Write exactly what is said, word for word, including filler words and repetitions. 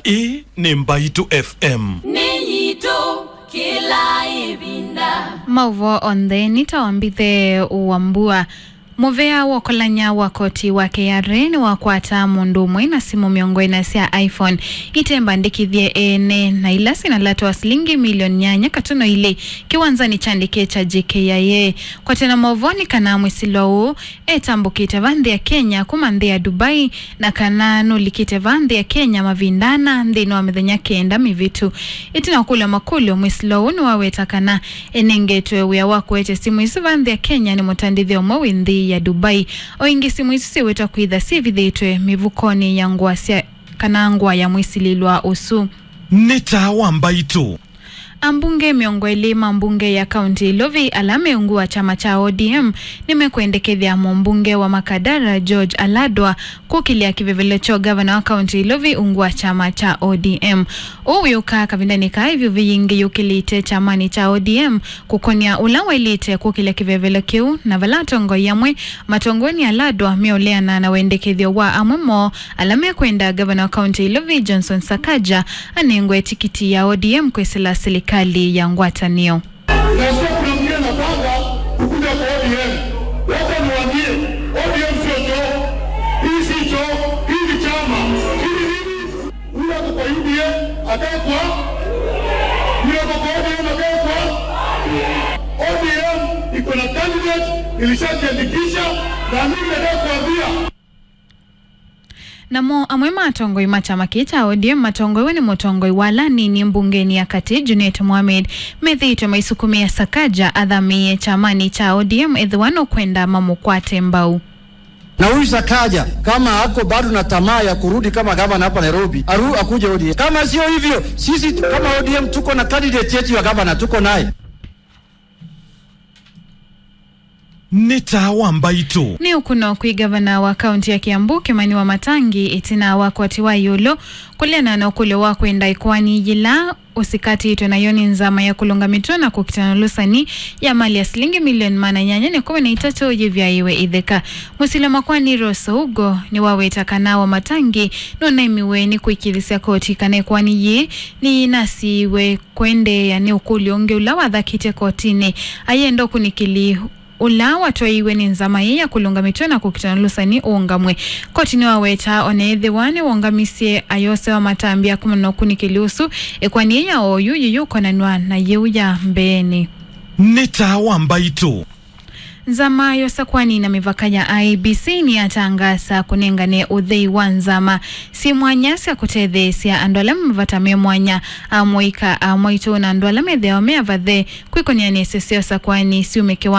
Ĩĩ nĩ Mbaitũ F M. Nĩ yitũ kĩla ĩvinda. Maũvoo onthe nĩ ta wambithe wa mbua. Mũvea wa ũkolany'a wa koti wa K R A nĩwakwata mũndũ ũmwe na simũ mĩongo ĩna sya iPhone itembandĩkĩthye ene, na ila syĩna lato wa silingi milioni nyanya katuno ilĩ kĩwanzanĩ kya ndeke kya J K I A. Kwatena maũvoo nĩ kana mwĩsĩlwa ũũ etambũkĩte va nthĩ ya Kenya kuma nthĩ ya Dubai, na kana nũlikĩte va nthĩ ya Kenya mavinda ana nthĩnĩ wa mĩthenya kenda mĩvĩtu. Ĩtina wa kũlya makũlyo, mwĩsĩlwa ũũ nĩwaweta kana enengetwe wĩa wa kũete simũ isu va nthĩ ya Kenya nĩ mũtandĩthya ũmwe wĩ nthĩ ya Dubai. O ĩngĩ, simũ isu syĩwetwa kwĩtha syĩvithĩtwe mĩvukonĩ ya ngũa sya, kana ngũa ya mwĩsilĩlwa ũsu. Nĩ taa wa Mbaitũ. Ambunge mĩongo ĩlĩ ma mbunge ya kaunti ya Ilovi ala me ungu wa kyama kya O D M nĩmekwendekethya mũmbunge wa Makadara George Aladwa kũkĩlya kĩvevelo kya ũgavana wa kaunti ya Ilovi ungu wa kyama kya O D M. Ũu wĩũka kavindanĩ kaa ĩvyũvi yingĩ yũkĩlĩte kyamanĩ kya O D M kũkonĩa ũla waĩlĩte kũkĩlya kĩvevelo kĩu, na vala atongoi amwe matongoew'e nĩ Aladwa meũleana na wendekethyo wa amwe moo ala mekwenda gavana wa kaunti ya Ilovi Johnson Sakaja anengwe tikiti ya O D M kwĩsĩla silikalĩ ya ngwatanĩo. Nasikia kuna mwingine anapanga kukuja kwa O D M. Wacha niwaambie, O D M sio choo. Hii si choo, hii ni chama. Hii ni nini? Huyo ako kwa U D A, akae kwa. Huyo ako kwa O D M, akae kwa. O D M iko na candidate, ilishajiandikisha, na mimi nataka kuambia. Namo amwe ma atongoi ma kyama kĩĩ kya O D M matongoew'e nĩ mũtongoi wa ala anini mbungenĩ ya katĩ, Junet Mohamed, methĩĩtwe maisukumĩe Sakaja athamĩĩe kyamanĩ kya O D M ethĩwa nũkwenda mamũkwate mbau. Na huyu Sakaja, kama ako bado na tamaa ya kurudi kama gavana hapa Nairobi, aru-, akuje O D M. Kama sio hivyo, sisi tu-, kama O D M tuko na candidate yetu ya gavana, tuko naye. Nĩ taa wa Mbaitũ. Nĩ ũkũno kwĩ gavana wa kaunti ya Kiambu, Kimani Wamatangi, ĩtina wa kwatiwa ĩũlũ kũleana na ũkũlyo wa kwenda ĩkoani yĩla ũsikatĩtwe nayo nĩ nzama ya kũlũnga mĩtwe na kũkitana ũlũsani ya mali ya silingi milioni maana nyanya na ĩkũmi na itatũ yĩvyaĩwe ĩtheka. Mũsili wa makoani Rose Ougo nĩwaweta kana Wamatangi nũnaemiwe nĩ kũĩkĩĩthĩsya koti kana ĩkoani yĩĩ nĩyĩnasiiwe kũendeea nĩ ũkũlyo ũngĩ ũla wathakĩtye kotinĩ. Ayenda ũkunĩkĩli ũla watwaiwe nĩ nzama ĩĩ ya kũlũnga mĩtwe na kũkitana ũlũsani ũũngamw'e. Koti nĩwaweta ona ethĩwa nĩwongamisye ayose wa matambya kumana na ũkunĩkĩli ũsu, ĩkoani ĩĩ ya oyu yĩyũkonanw'a na yĩu ya mbeenĩ. Nĩ taa wa Mbaitũ. Nzama ya ũsakwani na mĩvaka ya I E B C nĩyatangaasa kũnengane ũthei wa nzama syĩ mwanya sya kũtetheesya andũ ala me mavata me mwanya, amũika, amwaitũ na andũ ala methĩawa me avathe kwĩkonĩa na ĩsese ya ũsakwani syume kĩwango